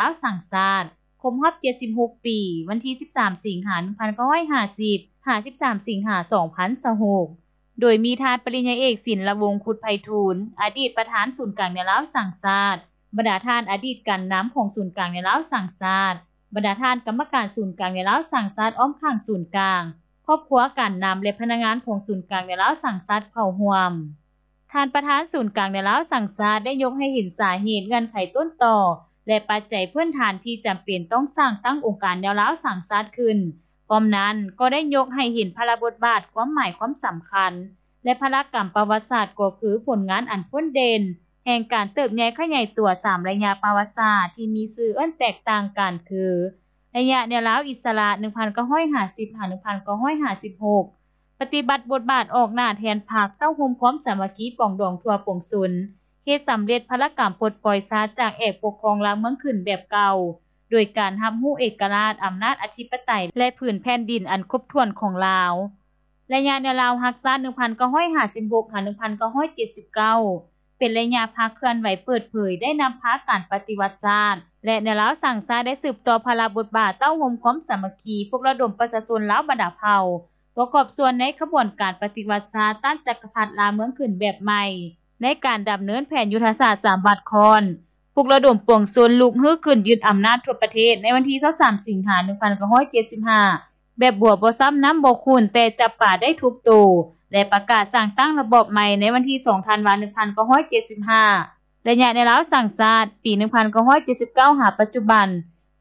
ລາວສ້າງຊາດ ຄົບຮອບເຈັດສິບຫົກປີ ວັນທີສິບສາມ ສິງຫາ ໜຶ່ງພັນເກົ້າຮ້ອຍຫ້າສິບ ຫາ ສິບສາມ ສິງຫາ ສອງພັນຊາວຫົກ ໂດຍມີທ່ານປະລິນຍາເອກ ສິນລະວົງ ຄຸດໄພທູນ ອະດີດປະທານສູນກາງແນວລາວສ້າງຊາດ, ບັນດາທ່ານອະດີດການນຳຂອງສູນກາງແນວລາວສ້າງຊາດ, ບັນດາທ່ານກຳມະການສູນກາງແນວລາວສ້າງຊາດອ້ອມຂ້າງສູນກາງ, ຄອບຄົວການນຳ ແລະ ພະນັກງານຂອງສູນກາງແນວລາວສ້າງຊາດເຂົ້າຮ່ວມ. ທ່ານປະທານສູນກາງແນວລາວສ້າງຊາດໄດ້ຍົກໃຫ້ເຫັນສາເຫດ, ເງື່ອນໄຂຕົ້ນຕໍ ແລະ ປັດໄຈພື້ນຖານທີ່ຈຳເປັນຕ້ອງສ້າງຕັ້ງອົງການແນວລາວສ້າງຊາດຂຶ້ນ. ພ້ອມນັ້ນກໍໄດ້ຍົກໃຫ້ເຫັນພາລະບົດບາດ, ຄວາມໝາຍຄວາມສຳຄັນ ແລະ ພາລະກຳປະຫວັດສາດ ກໍຄືຜົນງານອັນພົ້ນເດັ່ນແຫ່ງການເຕີບໃຫຍ່ຂະຫຍາຍຕົວສາມໄລຍະປະຫວັດສາດທີ່ມີຊື່ເອີ້ນແຕກຕ່າງກັນຄື ໄລຍະແນວລາວອິດສະຫຼະ ໜຶ່ງພັນເກົ້າຮ້ອຍຫ້າສິບ ຫາ ໜຶ່ງພັນເກົ້າຮ້ອຍຫ້າສິບຫົກ ປະຕິບັດບົດບາດອອກໜ້າແທນພັກ ເຕົ້າໂຮມຄວາມສາມັກຄີປອງດອງທົ່ວປວງຊົນ, ເຮັດສຳເລັດພາລະກຳປົດປ່ອຍຊາດຈາກແອກປົກຄອງລາວເມືອງຂຶ້ນແບບເກົ່າ ໂດຍການຮັບຮູ້ເອກະລາດ, ອຳນາດອະທິປະໄຕ ແລະ ຜືນແຜ່ນດິນອັນຄົບຖ້ວນຂອງລາວ. ໄລຍະແນວລາວຮັກຊາດ ໜຶ່ງພັນເກົ້າຮ້ອຍຫ້າສິບຫົກ ຫາ ໜຶ່ງພັນເກົ້າຮ້ອຍເຈັດສິບເກົ້າ ເປັນໄລຍະພັກເຄື່ອນໄຫວເປີດເຜີຍ ໄດ້ນຳພາການປະຕິວັດຊາດ ແລະ ແນວລາວສ້າງຊາດໄດ້ສືບຕໍ່ພາລະບົດບາດ ເຕົ້າໂຮມຄວາມສາມັກຄີ, ປຸກລະດົມປະຊາຊົນລາວບັນດາເຜົ່າ ປະກອບສ່ວນໃນຂະບວນການປະຕິວັດຊາດຕ້ານຈັກກະພັດລາວເມືອງຂຶ້ນແບບໃໝ່, ໃນການດຳເນີນແຜນຍຸດທະສາດສາມວັດຄ້ອນ, ປຸກລະດົມປວງຊົນລຸກຮືຂຶ້ນຍຶດອຳນາດທົ່ວປະເທດໃນວັນທີຊາວສາມ ສິງຫາ ໜຶ່ງພັນເກົ້າຮ້ອຍເຈັດສິບຫ້າ ແບບບົວບໍ່ຊ້ຳນ້ຳບໍ່ຂຸ້ນ ແຕ່ຈັບປາໄດ້ທຸກໂຕ ແລະ ປະກາດສ້າງຕັ້ງລະບອບໃໝ່ໃນວັນທີສອງ ທັນວາ ໜຶ່ງພັນເກົ້າຮ້ອຍເຈັດສິບຫ້າ. ໄລຍະແນວລາວສ້າງຊາດ ປີ ໜຶ່ງພັນເກົ້າຮ້ອຍເຈັດສິບເກົ້າ ຫາປັດຈຸບັນ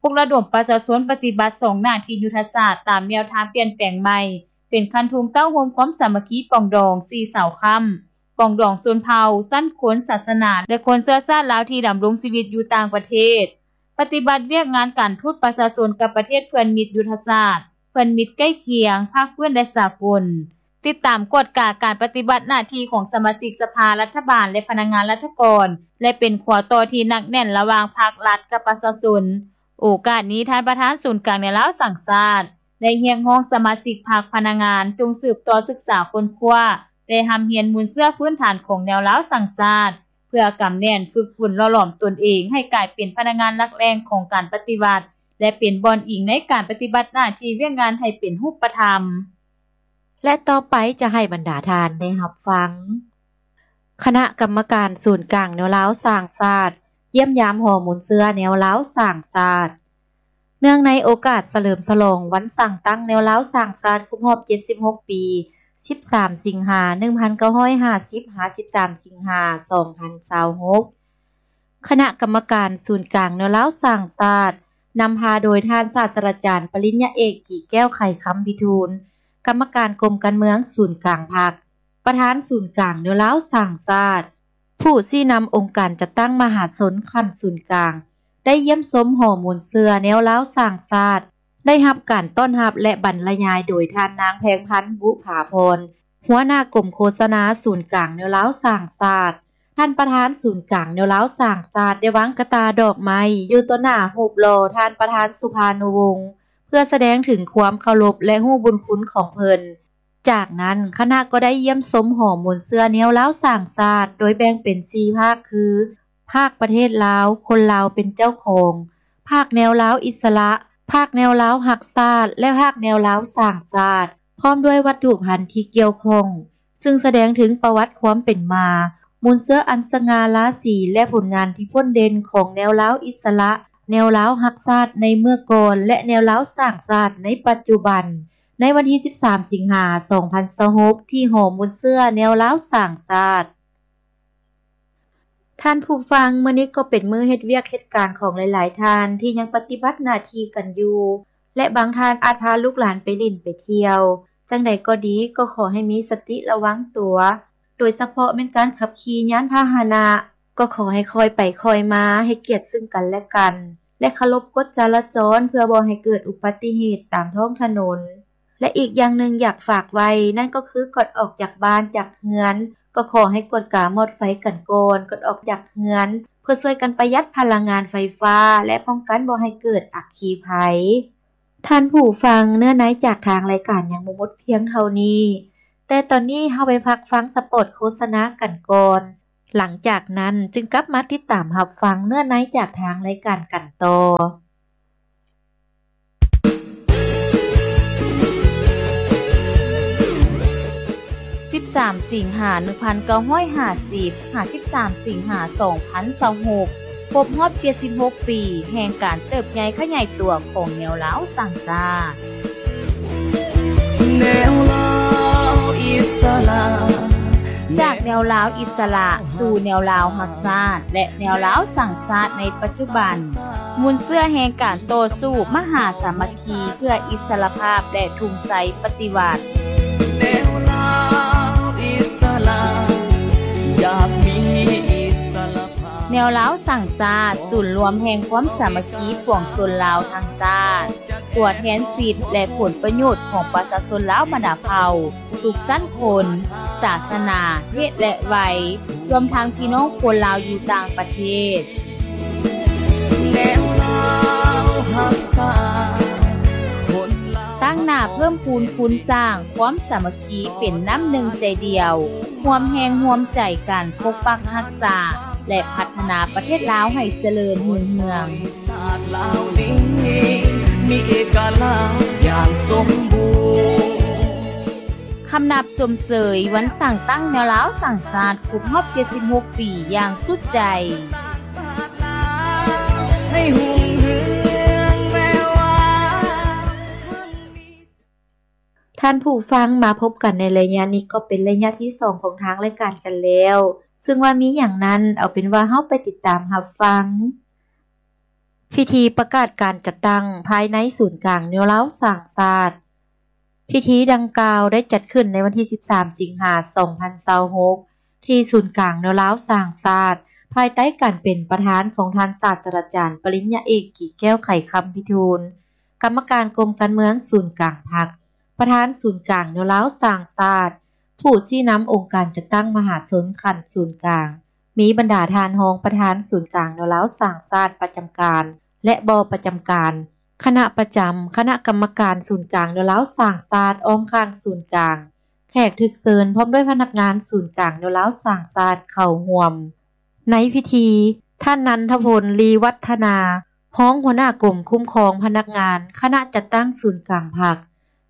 ປຸກລະດົມປະຊາຊົນປະຕິບັດສອງໜ້າທີ່ຍຸດທະສາດຕາມແນວທາງປ່ຽນແປງໃໝ່ ເປັນຄັນທຸງເຕົ້າໂຮມຄວາມສາມັກຄີປອງດອງສີ່ເສົາຄ້ຳ ປອງດອງຊົນເຜົ່າ, ຊັ້ນຄົນ, ສາສະໜາ ແລະ ຄົນເຊື້ອຊາດລາວທີ່ດຳລົງຊີວິດຢູ່ຕ່າງປະເທດ. ປະຕິບັດວຽກງານການທູດປະຊາຊົນກັບປະເທດເພື່ອນມິດຍຸດທະສາດ, ເພື່ອນມິດໃກ້ຄຽງ, ພາກພື້ນ ແລະ ສາກົນ. ຕິດຕາມກວດກາການປະຕິບັດໜ້າທີ່ຂອງສະມາຊິກສະພາລັດຖະບານ ແລະ ພະນັກງານລັດຖະກອນ ແລະ ເປັນຂົວຕໍ່ທີ່ໜັກແໜ້ນລະຫວ່າງພັກລັດກັບປະຊາຊົນ. ໂອກາດນີ້ ທ່ານປະທານສູນກາງແນວລາວສ້າງຊາດ ໄດ້ຮຽກຮ້ອງສະມາຊິກພັກ, ພະນັກງານ ຈົ່ງສືບຕໍ່ສຶກສາຄົ້ນຄວ້າ ແລະ ຮ່ຳຮຽນມູນເຊື້ອພື້ນຖານຂອງແນວລາວສ້າງຊາດ ເພື່ອກຳແໜ້ນ, ຝຶກຝົນ, ຫຼໍ່ຫຼອມຕົນເອງໃຫ້ກາຍເປັນພະນັກງານຫຼັກແຫຼ່ງຂອງການປະຕິວັດ ແລະ ເປັນບ່ອນອີງໃນການປະຕິບັດໜ້າທີ່ວຽກງານໃຫ້ເປັນຮູບປະທຳ. ແລະ ຕໍ່ໄປຈະໃຫ້ບັນດາທ່ານໄດ້ຮັບຟັງ ຄະນະກຳມະການສູນກາງແນວລາວສ້າງຊາດ ຢ້ຽມຢາມຫໍມູນເຊື້ອແນວລາວສ້າງຊາດ. ເນື່ອງໃນໂອກາດສະເຫຼີມສະຫຼອງວັນສ້າງຕັ້ງແນວລາວສ້າງຊາດຄົບຮອບເຈັດສິບຫົກປີ ສິບສາມ ສິງຫາ ໜຶ່ງພັນເກົ້າຮ້ອຍຫ້າສິບ ຫາ ສິບສາມ ສິງຫາ ສອງພັນຊາວຫົກ ຄະນະກຳມະການສູນກາງແນວລາວສ້າງຊາດ ນຳພາໂດຍທ່ານສາດສະດາຈານປະລິນຍາເອກ ກີແກ້ວ ໄຂຄຳພິທູນ ກຳມະການກົມການເມືອງສູນກາງພັກ, ປະທານສູນກາງແນວລາວສ້າງຊາດ, ຜູ້ຊີ້ນຳອົງການຈັດຕັ້ງມະຫາຊົນຂັ້ນສູນກາງ ໄດ້ຢ້ຽມຊົມຫໍມູນເຊື້ອແນວລາວສ້າງຊາດ, ໄດ້ຮັບການຕ້ອນຮັບ ແລະ ບັນລະຍາຍໂດຍທ່ານນາງ ແພງພັນ ບຸພາພອນ ຫົວໜ້າກົມໂຄສະນາສູນກາງແນວລາວສ້າງຊາດ. ທ່ານປະທານສູນກາງແນວລາວສ້າງຊາດ ໄດ້ວາງກະຕ່າດອກໄມ້ຢູ່ຕໍ່ໜ້າຮູບຫຼໍ່ທ່ານປະທານສຸພານຸວົງ ເພື່ອສະແດງເຖິງຄວາມເຄົາລົບ ແລະ ຮູ້ບຸນຄຸນຂອງເພິ່ນ. ຈາກນັ້ນ ຄະນະກໍໄດ້ຢ້ຽມຊົມຫໍມູນເຊື້ອແນວລາວສ້າງຊາດ ໂດຍແບ່ງເປັນສີ່ພາກຄື ພາກປະເທດລາວ, ຄົນລາວເປັນເຈົ້າຂອງ, ພາກແນວລາວອິດສະຫຼະ, ພາກແນວລາວຮັກຊາດ ແລະ ພາກແນວລາວສ້າງຊາດ ພ້ອມດ້ວຍວັດຖຸພັນທີ່ກ່ຽວຂ້ອງ, ຊຶ່ງສະແດງເຖິງປະຫວັດຄວາມເປັນມາ, ມູນເຊື້ອອັນສະຫງ່າລາສີ ແລະ ຜົນງານທີ່ພົ້ນເດັ່ນຂອງແນວລາວອິດສະຫຼະ, ແນວລາວຮັກຊາດໃນເມື່ອກ່ອນ ແລະ ແນວລາວສ້າງຊາດໃນປັດຈຸບັນ. ໃນວັນທີສິບສາມ ສິງຫາ ສອງພັນຊາວຫົກ ທີ່ຫໍມູນເຊື້ອແນວລາວສ້າງຊາດ. ທ່ານຜູ້ຟັງ, ມື້ນີ້ກໍເປັນມື້ເຮັດວຽກເຮັດການຂອງຫຼາຍໆທ່ານທີ່ຍັງປະຕິບັດໜ້າທີ່ກັນຢູ່ ແລະ ບາງທ່ານອາດພາລູກຫຼານໄປຫຼິ້ນໄປທ່ຽວ. ຈັ່ງໃດກໍດີ, ກໍຂໍໃຫ້ມີສະຕິລະວັງຕົວ, ໂດຍສະເພາະແມ່ນການຂັບຂີ່ຍານພາຫະນະ, ກໍຂໍໃຫ້ຄ່ອຍໄປຄ່ອຍມາ, ໃຫ້ກຽດຊຶ່ງກັນແລະກັນ ແລະ ເຄົາລົບກົດຈະລາຈອນ ເພື່ອບໍ່ໃຫ້ເກີດອຸບັດຕິເຫດຕາມທ້ອງຖະໜົນ. ແລະ ອີກຢ່າງໜຶ່ງຢາກຝາກໄວ້ ນັ້ນກໍຄືກ່ອນອອກຈາກບ້ານຈາກເຮືອນ ກໍຂໍໃຫ້ກວດກາມອດໄຟກັນກ່ອນ ກ່ອນອອກຈາກເຮືອນ ເພື່ອຊ່ວຍກັນປະຢັດພະລັງງານໄຟຟ້າ ແລະ ປ້ອງກັນບໍ່ໃຫ້ເກີດອັກຄີໄພ. ທ່ານຜູ້ຟັງ, ເນື້ອໃນຈາກທາງລາຍການຍັງບໍ່ໝົດພຽງເທົ່ານີ້, ແຕ່ຕອນນີ້ເຮົາໄປພັກຟັງສະປອດໂຄສະນາກັນກ່ອນ. ຫຼັງຈາກນັ້ນຈຶ່ງກັບມາຕິດຕາມຮັບຟັງເນື້ອໃນຈາກທາງລາຍການກັນຕໍ່. ສິບສາມ ສິງຫາ ໜຶ່ງພັນເກົ້າຮ້ອຍຫ້າສິບ ຫາ ສິບສາມ ສິງຫາ ສອງພັນຊາວຫົກ ຄົບຮອບ ເຈັດສິບຫົກ ປີ ແຫ່ງການເຕີບໃຫຍ່ຂະຫຍາຍຕົວຂອງແນວລາວສ້າງຊາດ. ແນວລາວອິດສະຫຼະ ຈາກແນວລາວອິດສະຫຼະສູ່ແນວລາວຮັກຊາດ ແລະ ແນວລາວສ້າງຊາດໃນປັດຈຸບັນ, ມູນເຊື້ອແຫ່ງການຕໍ່ສູ້ມະຫາສາມັກຄີເພື່ອອິດສະຫຼະພາບ ແລະ ທຸງໄຊປະຕິວັດ. ແນວລາວອິດສະຫຼະ ຢາກມີອິດສະຫຼະພາບ. ແນວລາວສ້າງຊາດ ສູນລວມແຫ່ງຄວາມສາມັກຄີປວງຊົນລາວທັງຊາດ, ຕົວແທນສິດ ແລະ ຜົນປະໂຫຍດຂອງປະຊາຊົນລາວບັນດາເຜົ່າ ທຸກຊັ້ນຄົນ, ສາສະໜາ, ເພດ ແລະ ໄວ, ລວມທັງພີ່ນ້ອງຄົນລາວຢູ່ຕ່າງປະເທດ. ແນວລາວຮັກຊາດ ຄົນລາວ ຕັ້ງໜ້າເພີ່ມພູນຄູນສ້າງຄວາມສາມັກຄີເປັນນ້ຳໜຶ່ງໃຈດຽວ, ຮ່ວມແຮງຮ່ວມໃຈກັນປົກປັກຮັກສາ ແລະ ພັດທະນາປະເທດລາວໃຫ້ຈະເລີນຮຸ່ງເຮືອງ. ຊາດລາວນີ້ມີເອກະລາດຢ່າງສົມບູນ. ຄຳນັບຊົມເຊີຍວັນສ້າງຕັ້ງແນວລາວສ້າງຊາດຄົບຮອບເຈັດສິບຫົກປີຢ່າງສຸດໃຈ. ທ່ານຜູ້ຟັງ, ມາພົບກັນໃນໄລຍະນີ້ກໍເປັນໄລຍະທີສອງຂອງທາງລາຍການກັນແລ້ວ, ເຊິ່ງວ່າມີຫຍັງນັ້ນ, ເອົາເປັນວ່າເຮົາໄປຕິດຕາມຮັບຟັງ. ພິທີປະກາດການຈັດຕັ້ງພາຍໃນສູນກາງແນວລາວສ້າງຊາດ. ພິທີດັ່ງກ່າວໄດ້ຈັດຂຶ້ນໃນວັນທີສິບສາມ ສິງຫາ ສອງພັນຊາວຫົກ ທີ່ສູນກາງແນວລາວສ້າງຊາດ, ພາຍໃຕ້ການເປັນປະທານຂອງທ່ານສາດສະດາຈານປະລິນຍາເອກ ກີແກ້ວ ໄຂຄຳພິທູນ, ກຳມະການກົມການເມືອງສູນກາງພັກ, ປະທານສູນກາງແນວລາວສ້າງຊາດ, ຜູ້ຊີ້ນຳອົງການຈັດຕັ້ງມະຫາຊົນຂັ້ນສູນກາງ, ມີບັນດາທ່ານຮອງປະທານສູນກາງແນວລາວສ້າງຊາດປະຈຳການ ແລະ ບໍ່ປະຈຳການ, ຄະນະປະຈຳ, ຄະນະກຳມະການສູນກາງແນວລາວສ້າງຊາດອ້ອມຂ້າງສູນກາງ, ແຂກຖືກເຊີນ ພ້ອມດ້ວຍພະນັກງານສູນກາງແນວລາວສ້າງຊາດເຂົ້າຮ່ວມ. ໃນພິທີ, ທ່ານ ນັນທະພົນ ລີວັດທະນາ, ຮອງຫົວໜ້າກົມຄຸ້ມຄອງພະນັກງານ ຄະນະຈັດຕັ້ງສູນກາງພັກ,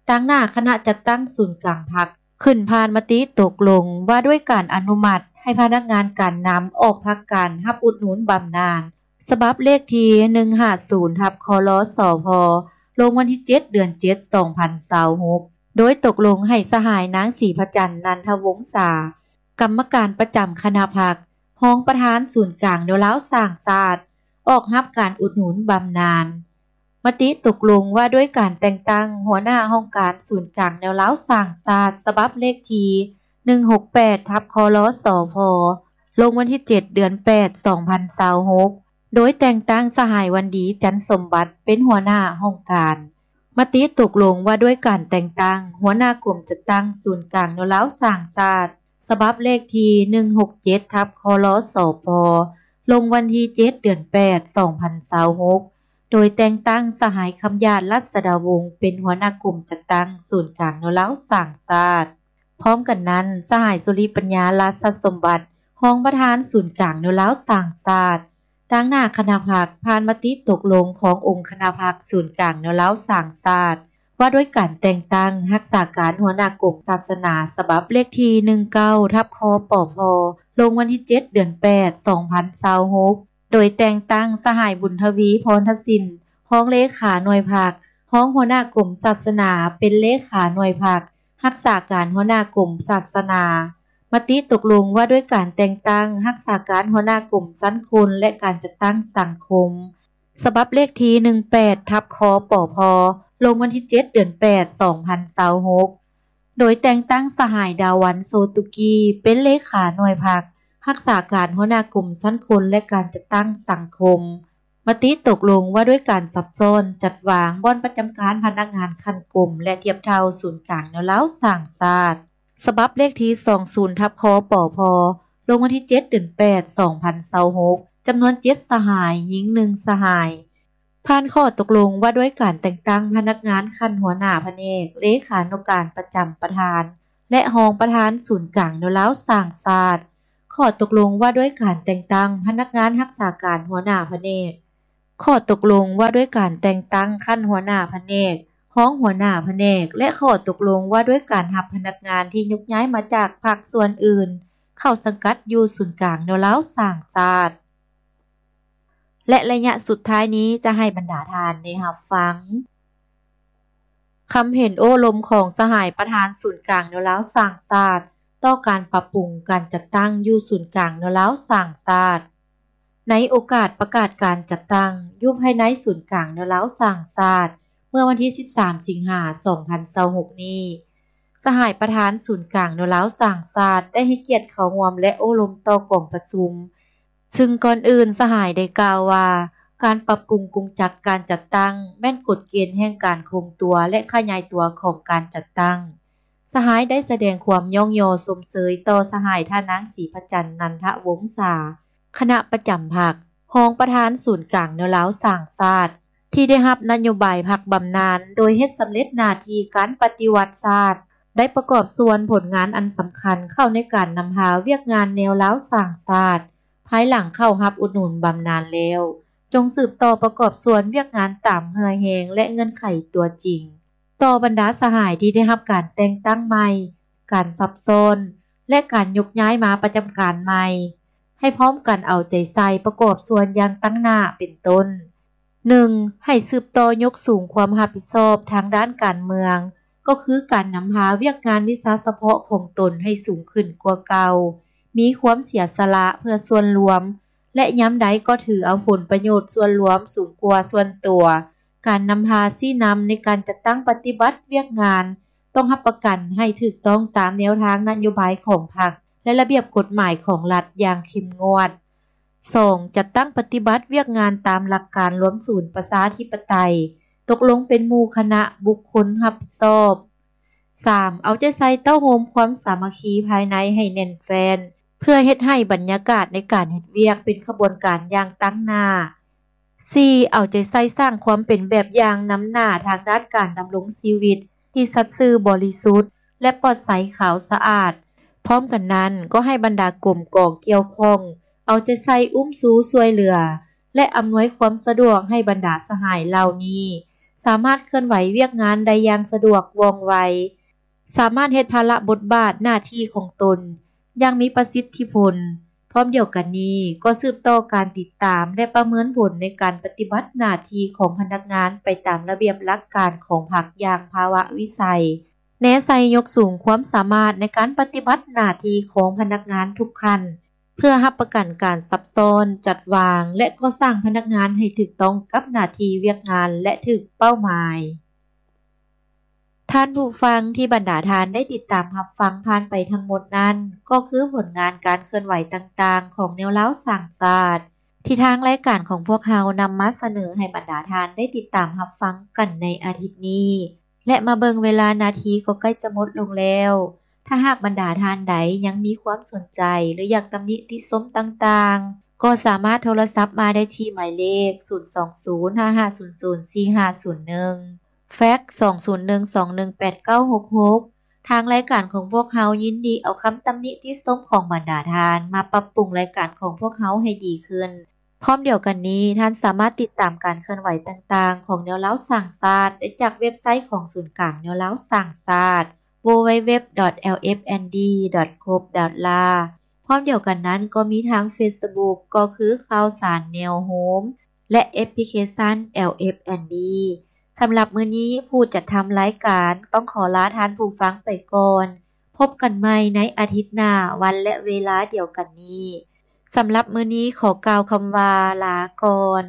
ຕາງໜ້າຄະນະຈັດຕັ້ງສູນກາງພັກ ຂຶ້ນຜ່ານມະຕິຕົກລົງວ່າດ້ວຍການອະນຸມັດໃຫ້ພະນັກງານການນຳອອກພັກການຮັບອຸດໜູນບຳນານ ສະບັບເລກທີ ໜຶ່ງຫ້າສູນ ທັບ ຄລ ສພ ລົງວັນທີເຈັດ ເດືອນເຈັດ ສອງພັນຊາວຫົກ ໂດຍຕົກລົງໃຫ້ສະຫາຍນາງ ສີພະຈັນ ນັນທະວົງສາ, ກຳມະການປະຈຳຄະນະພັກ, ຮອງປະທານສູນກາງແນວລາວສ້າງຊາດ ອອກຮັບການອຸດໜູນບຳນານ. ມະຕິຕົກລົງວ່າດ້ວຍການແຕ່ງຕັ້ງຫົວໜ້າຫ້ອງການສູນກາງແນວລາວສ້າງຊາດ ສະບັບເລກທີ ໜຶ່ງຫົກແປດ ທັບ ຄລ ສພ ລົງວັນທີເຈັດ ເດືອນແປດ ສອງພັນຊາວຫົກ ໂດຍແຕ່ງຕັ້ງສະຫາຍ ວັນດີ ຈັນສົມບັດ ເປັນຫົວໜ້າຫ້ອງການ. ມະຕິຕົກລົງວ່າດ້ວຍການແຕ່ງຕັ້ງຫົວໜ້າກົມຈັດຕັ້ງສູນກາງແນວລາວສ້າງຊາດ ສະບັບເລກທີ ໜຶ່ງຫົກເຈັດ ທັບ ຄລ ສພ ລົງວັນທີເຈັດ ເດືອນແປດ ສອງພັນຊາວຫົກ ໂດຍແຕ່ງຕັ້ງສະຫາຍ ຄຳຢາດ ລັດສະດາວົງ ເປັນຫົວໜ້າກົມຈັດຕັ້ງສູນກາງແນວລາວສ້າງຊາດ. ພ້ອມກັນນັ້ນ, ສະຫາຍ ສຸລິປັນຍາ ລາຊະສົມບັດ ຮອງປະທານສູນກາງແນວລາວສ້າງຊາດ ຕາງໜ້າຄະນະພັກ ຜ່ານມະຕິຕົກລົງຂອງອົງຄະນະພັກສູນກາງແນວລາວສ້າງຊາດ ວ່າດ້ວຍການແຕ່ງຕັ້ງຮັກສາການຫົວໜ້າກົມສາສະໜາ ສະບັບເລກທີ ໜຶ່ງເກົ້າ ທັບ ຄປພ ລົງວັນທີເຈັດ ເດືອນແປດ ສອງພັນຊາວຫົກ ໂດຍແຕ່ງຕັ້ງສະຫາຍ ບຸນທະວີ ພອນທະສິນ ຮອງເລຂາໜ່ວຍພັກ, ຮອງຫົວໜ້າກົມສາສະໜາ ເປັນເລຂາໜ່ວຍພັກ, ຮັກສາການຫົວໜ້າກົມສາສະໜາ. ມະຕິຕົກລົງວ່າດ້ວຍການແຕ່ງຕັ້ງຮັກສາການຫົວໜ້າກົມຊັ້ນຄົນ ແລະ ການຈັດຕັ້ງສັງຄົມ ສະບັບເລກທີ ໜຶ່ງແປດ ທັບ ຄປພ ລົງວັນທີເຈັດ ເດືອນແປດ ສອງພັນຊາວຫົກ ໂດຍແຕ່ງຕັ້ງສະຫາຍ ດາວັນ ໂຊຕຸກີ ເປັນເລຂາໜ່ວຍພັກ, ຮັກສາການຫົວໜ້າກົມຊັ້ນຄົນ ແລະ ການຈັດຕັ້ງສັງຄົມ. ມະຕິຕົກລົງວ່າດ້ວຍການຊັບຊ້ອນຈັດວາງບ່ອນປະຈຳການພະນັກງານຂັ້ນກົມ ແລະ ທຽບເທົ່າສູນກາງແນວລາວສ້າງຊາດ ສະບັບເລກທີ ສອງສູນ ທັບ ຄປພ ລົງວັນທີເຈັດ ເດືອນແປດ ສອງພັນຊາວຫົກ ຈຳນວນເຈັດສະຫາຍ, ຍິງໜຶ່ງສະຫາຍ. ຜ່ານຂໍ້ຕົກລົງວ່າດ້ວຍການແຕ່ງຕັ້ງພະນັກງານຂັ້ນຫົວໜ້າພະແນກ, ເລຂານຸການປະຈຳປະທານ ແລະ ຮອງປະທານສູນກາງແນວລາວສ້າງຊາດ ຂໍ້ຕົກລົງວ່າດ້ວຍການແຕ່ງຕັ້ງພະນັກງານຮັກສາການຫົວໜ້າພະແນກ, ຂໍ້ຕົກລົງວ່າດ້ວຍການແຕ່ງຕັ້ງຂັ້ນຫົວໜ້າພະແນກ, ຮອງຫົວໜ້າພະແນກ ແລະ ຂໍ້ຕົກລົງວ່າດ້ວຍການຮັບພະນັກງານທີ່ຍົກຍ້າຍມາຈາກພາກສ່ວນອື່ນ ເຂົ້າສັງກັດຢູ່ສູນກາງແນວລາວສ້າງຊາດ. ແລະ ໄລຍະສຸດທ້າຍນີ້ຈະໃຫ້ບັນດາທ່ານໄດ້ຮັບຟັງ ຄຳເຫັນໂອ້ລົມຂອງສະຫາຍປະທານສູນກາງແນວລາວສ້າງຊາດ ຕໍ່ການປັບປຸງການຈັດຕັ້ງຢູ່ສູນກາງແນວລາວສ້າງຊາດ. ໃນໂອກາດປະກາດການຈັດຕັ້ງຢູ່ພາຍໃນສູນກາງແນວລາວສ້າງຊາດ ເມື່ອວັນທີສິບສາມ ສິງຫາ ສອງພັນຊາວຫົກນີ້, ສະຫາຍປະທານສູນກາງແນວລາວສ້າງຊາດ ໄດ້ໃຫ້ກຽດເຂົ້າຮ່ວມ ແລະ ໂອ້ລົມຕໍ່ກອງປະຊຸມ, ຊຶ່ງກ່ອນອື່ນສະຫາຍໄດ້ກ່າວວ່າ ການປັບປຸງກົງຈັກການຈັດຕັ້ງ ແມ່ນກົດເກນແຫ່ງການຄົງຕົວ ແລະ ຂະຫຍາຍຕົວຂອງການຈັດຕັ້ງ. ສະຫາຍໄດ້ສະແດງຄວາມຍ້ອງຍໍຊົມເຊີຍຕໍ່ສະຫາຍທ່ານນາງ ສີພະຈັນ ນັນທະວົງສາ, ຄະນະປະຈຳພັກ, ຮອງປະທານສູນກາງແນວລາວສ້າງຊາດ ທີ່ໄດ້ຮັບນະໂຍບາຍພັກບຳນານ ໂດຍເຮັດສຳເລັດໜ້າທີ່ການປະຕິວັດຊາດ, ໄດ້ປະກອບສ່ວນຜົນງານອັນສຳຄັນເຂົ້າໃນການນຳພາວຽກງານແນວລາວສ້າງຊາດ ພາຍຫຼັງເຂົ້າຮັບອຸດໜູນບຳນານແລ້ວ, ຈົ່ງສືບຕໍ່ປະກອບສ່ວນວຽກງານຕາມເຫື່ອແຮງ ແລະ ເງື່ອນໄຂຕົວຈິງ. ຕໍ່ບັນດາສະຫາຍທີ່ໄດ້ຮັບການແຕ່ງຕັ້ງໃໝ່, ການສັບຊ້ອນ ແລະ ການຍົກຍ້າຍມາປະຈຳການໃໝ່, ໃຫ້ພ້ອມກັນເອົາໃຈໃສ່ປະກອບສ່ວນຢ່າງຕັ້ງໜ້າ ເປັນຕົ້ນ, ໜຶ່ງ ໃຫ້ສືບຕໍ່ຍົກສູງຄວາມຮັບຜິດຊອບທາງດ້ານການເມືອງ, ກໍຄືການນຳພາວຽກງານວິຊາສະເພາະຂອງຕົນໃຫ້ສູງຂຶ້ນກວ່າເກົ່າ, ມີຄວາມເສຍສະຫຼະເພື່ອສ່ວນລວມ ແລະ ຍາມໃດກໍຖືເອົາຜົນປະໂຫຍດສ່ວນລວມສູງກວ່າສ່ວນຕົວ. ການນຳພາຊີ້ນຳໃນການຈັດຕັ້ງປະຕິບັດວຽກງານ ຕ້ອງຮັບປະກັນໃຫ້ຖືກຕ້ອງຕາມແນວທາງນະໂຍບາຍຂອງພັກ ແລະ ລະບຽບກົດໝາຍຂອງລັດຢ່າງເຂັ້ມງວດ. ສອງ ຈັດຕັ້ງປະຕິບັດວຽກງານຕາມຫຼັກການລວມສູນປະຊາທິປະໄຕ, ຕົກລົງເປັນໝູ່ຄະນະບຸກຄົນຮັບຜິດຊອບ. ສາມ ເອົາໃຈໃສ່ເຕົ້າໂຮມຄວາມສາມັກຄີພາຍໃນໃຫ້ແໜ້ນແຟ້ນ ເພື່ອເຮັດໃຫ້ບັນຍາກາດໃນການເຮັດວຽກເປັນຂະບວນການຢ່າງຕັ້ງໜ້າ. ສີ່ ເອົາໃຈໃສ່ສ້າງຄວາມເປັນແບບຢ່າງນຳໜ້າທາງດ້ານການດຳລົງຊີວິດທີ່ສັດຊື່ບໍລິສຸດ ແລະ ປອດໃສຂາວສະອາດ. ພ້ອມກັນນັ້ນ, ກໍໃຫ້ບັນດາກົມກອງກ່ຽວຂ້ອງເອົາໃຈໃສ່ອຸ້ມຊູຊ່ວຍເຫຼືອ ແລະ ອຳນວຍຄວາມສະດວກໃຫ້ບັນດາສະຫາຍເຫຼົ່ານີ້ ສາມາດເຄື່ອນໄຫວວຽກງານໄດ້ຢ່າງສະດວກວ່ອງໄວ, ສາມາດເຮັດພາລະບົດບາດໜ້າທີ່ຂອງຕົນຢ່າງມີປະສິດທິຜົນ. ພ້ອມດຽວກັນນີ້, ກໍສືບຕໍ່ການຕິດຕາມ ແລະ ປະເມີນຜົນໃນການປະຕິບັດໜ້າທີ່ຂອງພະນັກງານໄປຕາມລະບຽບຫຼັກການຂອງພັກຢ່າງພາວະວິໄສ, ແນໃສ່ຍົກສູງຄວາມສາມາດໃນການປະຕິບັດໜ້າທີ່ຂອງພະນັກງານທຸກຂັ້ນ ເພື່ອຮັບປະກັນການຊັບຊ້ອນ, ຈັດວາງ ແລະ ກໍ່ສ້າງພະນັກງານໃຫ້ຖືກຕ້ອງກັບໜ້າທີ່ວຽກງານ ແລະ ຖືກເປົ້າໝາຍ. ທ່ານຜູ້ຟັງທີ່ບັນດາທ່ານໄດ້ຕິດຕາມຮັບຟັງຜ່ານໄປທັງໝົດນັ້ນ, ກໍຄືຜົນງານການເຄື່ອນໄຫວຕ່າງໆຂອງແນວລາວສ້າງຊາດ ທີ່ທາງລາຍການຂອງພວກເຮົານຳມາສະເໜີໃຫ້ບັນດາທ່ານໄດ້ຕິດຕາມຮັບຟັງກັນໃນອາທິດນີ້. ແລະ ມາເບິ່ງເວລານາທີກໍໃກ້ຈະໝົດລົງແລ້ວ. ຖ້າຫາກບັນດາທ່ານໃດຍັງມີຄວາມສົນໃຈ ຫຼື ຢາກຕຳໜິຕິຊົມຕ່າງໆ, ກໍສາມາດໂທລະສັບມາໄດ້ທີ່ໝາຍເລກ ສູນສອງສູນ ຫ້າຫ້າສູນສູນ ສີ່ຫ້າສູນໜຶ່ງ, ແຟັກ ສອງສູນໜຶ່ງ ສອງໜຶ່ງແປດ ເກົ້າຫົກຫົກ. ທາງລາຍການຂອງພວກເຮົາຍິນດີເອົາຄຳຕຳໜິຕິຊົມຂອງບັນດາທ່ານມາປັບປຸງລາຍການຂອງພວກເຮົາໃຫ້ດີຂຶ້ນ. ພ້ອມດຽວກັນນີ້, ທ່ານສາມາດຕິດຕາມການເຄື່ອນໄຫວຕ່າງໆຂອງແນວລາວສ້າງຊາດໄດ້ຈາກເວັບໄຊຂອງສູນກາງແນວລາວສ້າງຊາດ www.lfnd.gov.la. ພ້ອມດຽວກັນນັ້ນກໍມີທາງ Facebook ກໍຄືຂ່າວສານແນວໂຮມ ແລະ ແອັບພລິເຄຊັນ LFND. ສຳລັບມື້ນີ້, ຜູ້ຈັດທຳລາຍການຕ້ອງຂໍລາທ່ານຜູ້ຟັງໄປກ່ອນ. ພົບກັນໃໝ່ໃນອາທິດໜ້າ, ວັນ ແລະ ເວລາດຽວກັນນີ້. ສຳລັບມື້ນີ້, ຂໍກ່າວຄຳວ່າ ລາກ່ອນ.